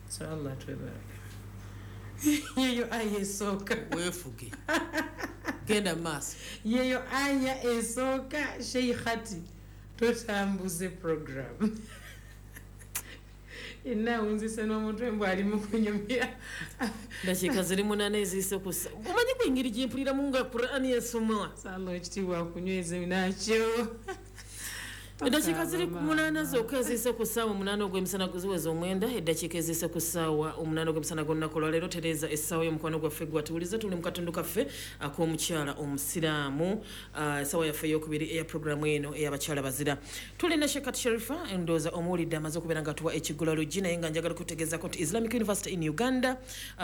So Allah twebaraka. Yeyo aya esooka. Weefuge, genda maaso. Yeyo aya esooka. Sheikhati, totambuze program enawunzise n'omutwe mbw ali mu kunyumira. Dakiika ziri 8 eziyise kusa. Omanyi kwengeri gyempuliramu nga Qurani esomwa? Sala ekitiibwa akunyweze nakyo. Eddakiika ziri 8 zokka eziyise ku ssaawa 8 ogw'emisana, ziweza 9 eddakiika eziyise ku ssaawa 8 ogw'emisana g'olunaku olwaleero. Tereeza essaawa y'omukwano gwaffe gwatuwuliza. Tuli mu katundu kaffe ak'omukyala omusiraamu, essaawa yaffe eyokubiri eya puroguramu eno ey'abakyala bazira. Tulina Shekat Sherifa, ndowooza omuwulidde, amaze okubeera nga tuwa ekigulalugi, naye nga njagala kutegeezako nti Islamic University in Uganda,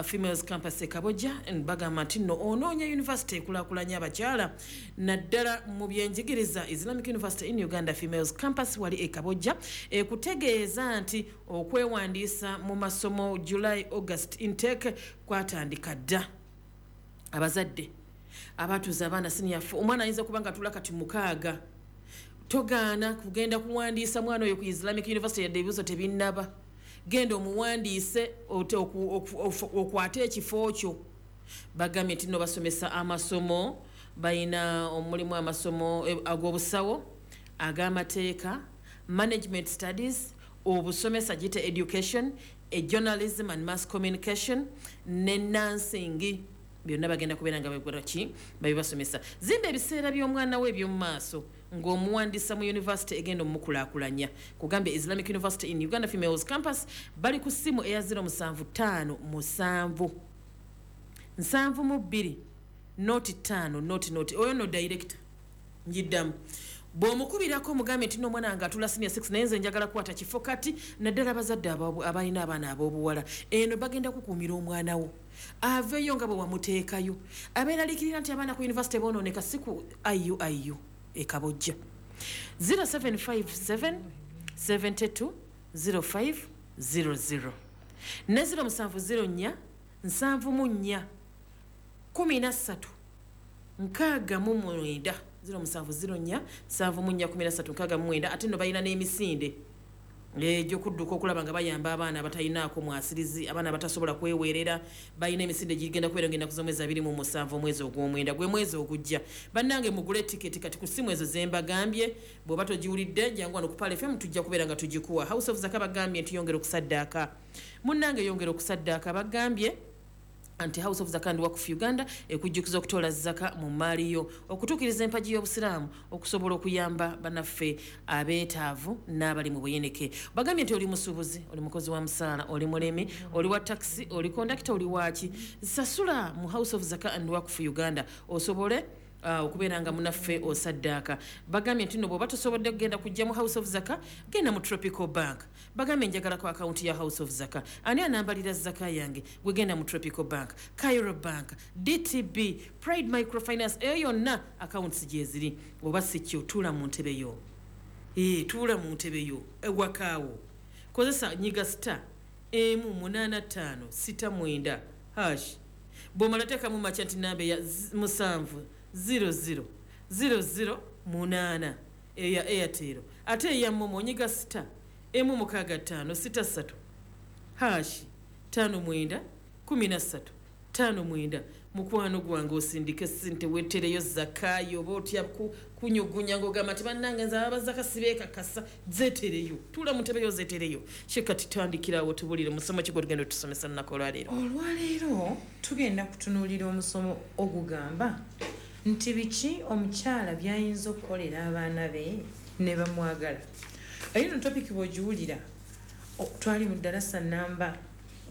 Females Campus e Kabojja, bagamba nti nno onoonya university ekulaakulanya abakyala naddala mu byenjigiriza, Islamic University in Uganda Females Campus wali e Kabojja ekutegeeza nti okwewandiisa mu masomo July August intake kwatandika dda. Abazadde abatuuza abaana senior, omwana ayinza okuba nga atula kati 6, togaana kugenda kuwandiisa mwana oyo ku Islamic University yadde ebibuzo tebinnaba. Genda omuwandiise okwate ekifo kyo. Bagambye nti nno basomesa amasomo, balina omulimu amasomo ag'obusawo, ag'amateeka, management studies, obusomesa gite education, journalism and mass communication ne nursing. Byonna bagenda kubeera nga bakola ki? Babibasomesa. Zimba ebiseera by'omwana we eby'omu maaso ng'omuwandiisa mu university egenda omukulaakulanya. Kugambye Islamic University in Uganda Females Campus bali ku ssimu eya 0757 72 05 00. Oyo no director njiddamu. Bw'omukubirako omugambe nti n'omwana wange atula senior 6, naye nze njagala kukwata kifo kati, naddala abazadde abalina abaana ab'obuwala. Eno bagenda kukuumira omwana wo aveeyo nga bwe wamuteekayo. Abeeraliikirira nti abaana ku university boonooneka, si ku IUIU ekabojja. 0757 72 05 00 ne 0704 74 13 69, 0704 74 13 69. Ate nno balina n'emisinde egyokudduka okulaba nga bayamba abaana abatalinaako mwasirizi, abaana abatasobola kweweerera. Balina emisinde gigenda kubeera nga ennaku z'omwezi 27 omwezi ogw'omwenda, gwe mwezi ogujja. Bannange, mugule tiketi kati ku ssimu ezo zembagambye. Bw'oba togiwulidde, jangu wano ku Pal FM, tujja kubeera nga tugikuwa. House of Zaka bagambye nti yongera okusaddaaka. Munnange, yongera okusaddaaka. Bagambye nti House of Zaka and Wakf Uganda ekujjukiza okutoola zaka mu maali yo okutuukiriza empagi y'obusiraamu, okusobola okuyamba bannaffe abeetaavu n'abali mu buyinike. Bagambye nti oli musuubuzi, oli mukozi wa musaala, oli mulimi, oli wa takisi, oli kondakita, oli waaki, sasula mu House of Zaka and Wakf Uganda osobole okubeera nga munaffe osaddaaka. Bagambye nti no bw'oba tosobodde kugenda kujja mu House of Zaka, genda mu Tropical Bank. Bagambye njagalako akawunti ya House of Zaka, ani anambalira zaka yange? Gwe genda mu Tropical Bank, Cairo Bank, DTB, Pride Microfinance, eyo yonna accounts gyeziri. Oba si kyo, tuula mu ntebe yo. Tuula mu ntebe yo ewakaawo, kozesa nyiga star 18569 hash. Bw'omala teekamu merchant namba eya 700008 eya Airtel. Ate eya MoMo onyiga star 16563 hash 59 13 59. Mukwano gwange, osindike sente, wetereyo zakayo. Oba otya kunyugunya ngaogamba nti bannange nze abazaka sibeekakasa, zetereyo. Tuula mu ntebe yo, zetereyo. Shekati, tandikirawo, tubulire musomo ki gwetugenda otusomesa lunaku olwaleero? Olwaleero tugenda kutunuulira omusomo ogugamba nti biki omukyala byayinza okukolera abaana be ne bamwagala. Eyo no topic bw'ogiwulira, twali mu ddalasa namba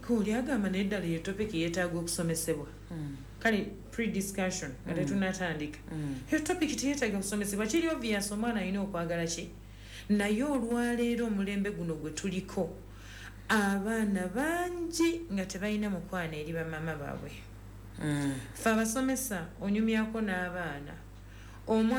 oli agamba, naye ddala eyo topic yeetaaga okusomesebwa? Kale pre-discussion nga tetunatandika, eyo topic teyeetaaga kusomesebwa, kiri obvious omwana alina okwagala ki. Naye olwaleero omulembe guno gwe tuliko, abaana bangi nga tebalina mukwano eri bamama baabwe. Fe abasomesa onyumyako n'abaana omwana.